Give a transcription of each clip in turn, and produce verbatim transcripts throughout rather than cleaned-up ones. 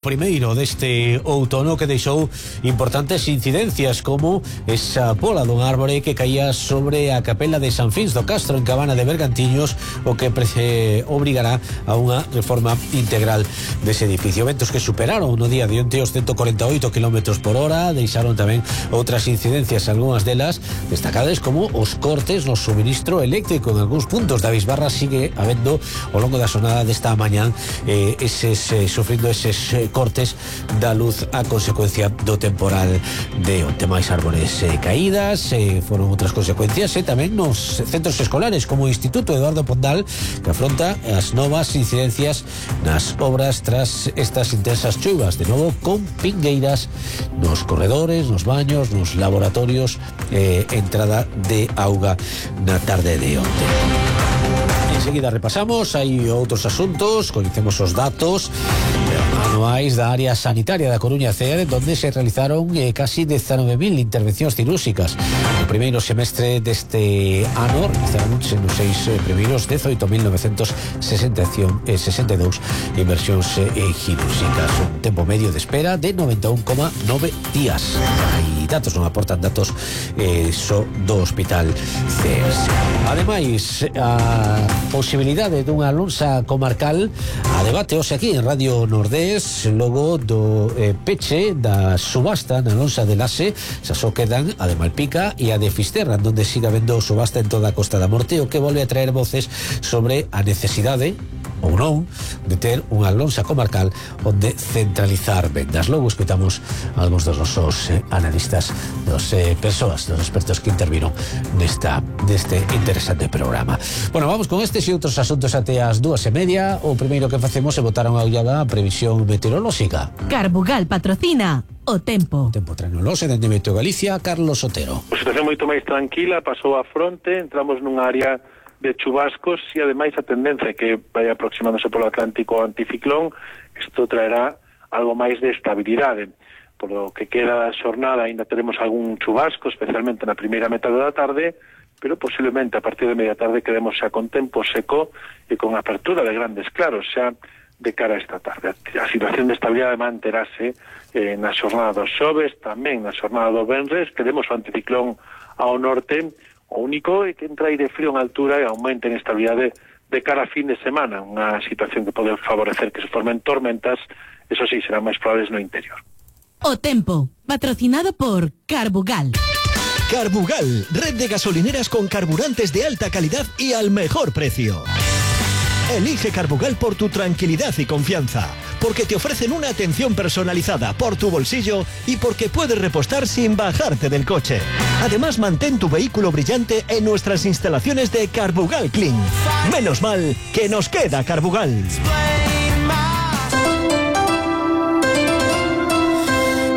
Primeiro deste outono que deixou importantes incidencias, como esa pola dun árbore que caía sobre a capela de San Fins do Castro en Cabana de Bergantiños, o que eh, obrigará a unha reforma integral dese edificio. Ventos que superaron no día de onte os ciento cuarenta e oito kilómetros por hora, deixaron tamén outras incidencias, algunhas delas destacadas como os cortes no suministro eléctrico en algúns puntos da Bisbarra. Sigue habendo ao longo da xornada desta mañán eh, eses, eh, sufrindo eses eh, cortes da luz a consecuencia do temporal de onte. Máis árbores eh, caídas, eh, foron outras consecuencias e eh, tamén nos centros escolares, como o Instituto Eduardo Pondal, que afronta as novas incidencias nas obras tras estas intensas chuvas, de novo con pingueiras nos corredores, nos baños, nos laboratorios, eh, entrada de auga na tarde de onte. Enseguida repasamos, hai outros asuntos, coñecemos os datos anuais da área sanitaria da Coruña C E R, donde se realizaron eh, casi dezanove mil intervencións cirúrxicas. No primeiro semestre deste ano realizaron nos seis eh, primeiros dezoito mil novecentos sesenta e dous inversións eh, cirúrxicas, un tempo medio de espera de noventa e un coma nove días. Hai datos, non aportan datos eh, só do Hospital C E S. Ademais, a posibilidade dunha lonxa comarcal a debate hoxe aquí en Radio Nordés, logo do eh, peche da subasta na lonxa de Lase. Xa só quedan a de Malpica e a de Fisterra, onde siga vendo subasta en toda a Costa da Morte, o que volve a traer voces sobre a necesidade ou non de ter unha lonxa comarcal onde centralizar vendas. Logo escutamos algúns dos nosos eh, analistas, dos eh, persoas, dos expertos que interviron nesta deste interesante programa. Bueno, vamos con estes e outros asuntos até as dúas e media. O primeiro que facemos é botar unha ollada a previsión meteorolóxica. Carbugal patrocina o tempo. O tempo tranoloxe dende Meteo Galicia, Carlos Otero. A situación moito máis tranquila, pasou a fronte, entramos nunha área de chubascos e ademais a tendencia que vai aproximándose polo Atlántico anticiclón. Isto traerá algo máis de estabilidade. Por lo que queda da xornada ainda teremos algún chubasco, especialmente na primeira metade da tarde, pero posiblemente a partir de media tarde quedemos xa con tempo seco e con apertura de grandes claros xa de cara a esta tarde. A situación de estabilidade manterase eh, na xornada dos xoves, tamén na xornada do venres. Queremos o anticiclón ao norte. O único é que entra aire frío en altura e aumenta en estabilidade de cara a fin de semana, unha situación que pode favorecer que se formen tormentas, eso sí, serán máis probables no interior. O tempo, patrocinado por Carbugal. Carbugal, red de gasolineras con carburantes de alta calidad y al mejor precio. Elige Carbugal por tu tranquilidad y confianza, porque te ofrecen una atención personalizada por tu bolsillo y porque puedes repostar sin bajarte del coche. Además, mantén tu vehículo brillante en nuestras instalaciones de Carbugal Clean. Menos mal que nos queda Carbugal.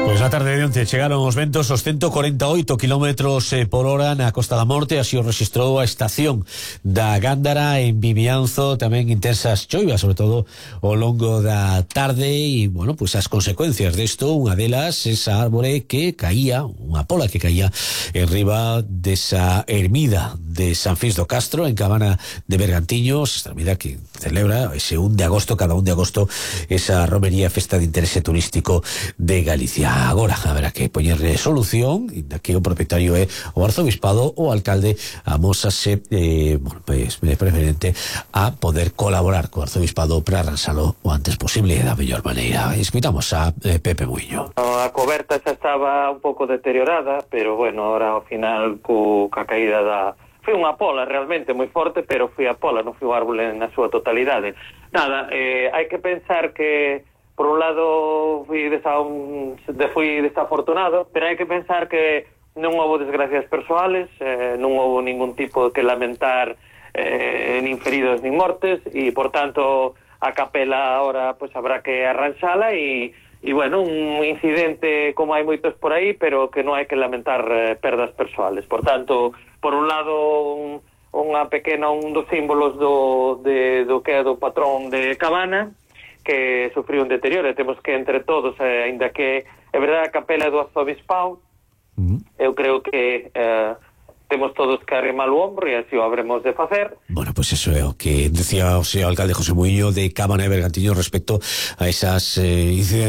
Pois na tarde de onte chegaron os ventos os ciento cuarenta e oito kilómetros por hora na Costa da Morte. Así o rexistrou a estación da Gándara en Vimianzo. Tamén intensas choivas, sobre todo ao longo da tarde. E, bueno, pois as consecuencias desto, unha delas, esa árbore que caía, unha pola que caía en riba desa ermida de San Fins do Castro en Cabana de Bergantiños, esta ermida que celebra ese un de agosto, cada un de agosto, esa romería, festa de interese turístico de Galicia. Agora haberá que poñerle solución, e que o propietario é o arzobispado, o alcalde amósase eh, bueno, pues, preferente a poder colaborar co arzobispado para arransalo o antes posible da mellor maneira. Escuitamos a eh, Pepe Muiño. A coberta xa estaba un pouco deteriorada, pero bueno, ahora ao final co, ca caída da... Foi unha pola realmente moi forte, pero foi a pola, non foi o árbol na súa totalidade. Nada, eh, hai que pensar que por un lado fui, desa, un, de, fui desafortunado, pero hai que pensar que non houve desgracias persoales, eh, non houve ningún tipo que lamentar, eh, nin feridos nin mortes, e por tanto a capela ahora pues habrá que arranxala e, e bueno, un incidente como hai moitos por aí, pero que non hai que lamentar eh, perdas persoales. Por tanto, por un lado un, unha pequena, un dos símbolos do, de, do que é do patrón de Cabana, que sufriu un deterioro, e temos que entre todos, eh, ainda que é verdade a capela do arzobispado, uh-huh. eu creo que eh, temos todos que arrimar o ombro e así o habremos de facer. Bueno, pues eso é o que decía o señor alcalde José Muiño de Cámara de Bergantiños respecto a esas eh, incidencias